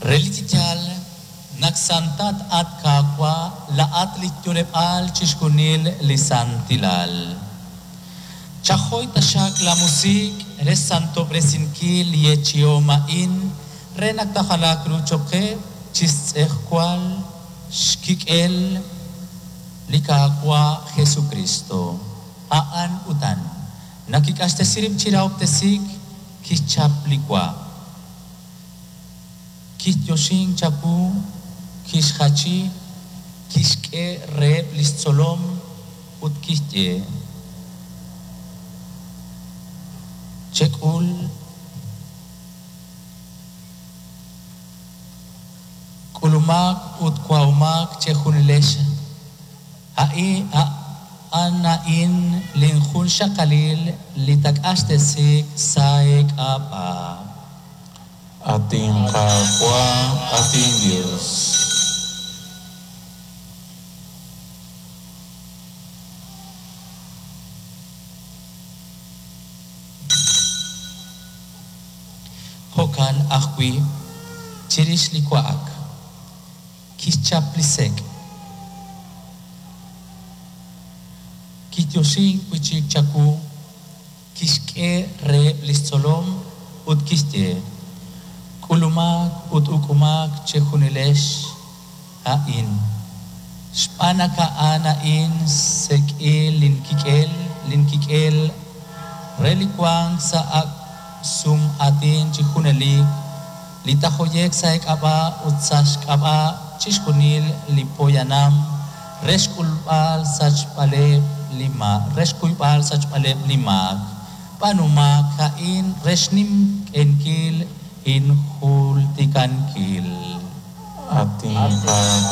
Relik chi yaal naq santat at Qaawa' laa'at li yo'leb'aal chixjunil li santilal. Chajoy taxaq laamusiq' re xsantob'resinkil li yeechi'om a'in re naq taajalaaq ru cho'q qe chi xtz'ejwal xkik'el li Qaawa' Jesukristo. A'an utan, naq kik'axtesi rib' chi rahob'tesiik, kixchap li wa. Kixyoxink chawu, kixjachi, kixk'e reheb' li xtzolom ut kixye: Chek'ul K'ulumaq ut wa'omaq chejunilex, a'an a'in linjunxaqalil li taaq'axtesiiq sa' eek'ab'a'. At inQaawa', at inYos. Jo'kan ajwi', chirix li wa'ak, kixchap li sek', kiyoxink wi' chik chawu, kixk'e reheb' li xtzolom ut kixye: K'ulumaq ut uk'umaq chejunilex a'in, xb'aan naq a'an a'in xsek'il linkik'el, linkik'el re li wank sa' ak' sum'aatin chi junelik, li taahoye'q sa' eek'ab'a' ut sa' xk'ab'a' chixjunil li poyanam re xk'ulb'al xsachb'aleb' li re xkuyb'al xsachb'aleb' li maak. B'aanumaq a'in re xninq'ehinkil injultikankil. At inQaawa',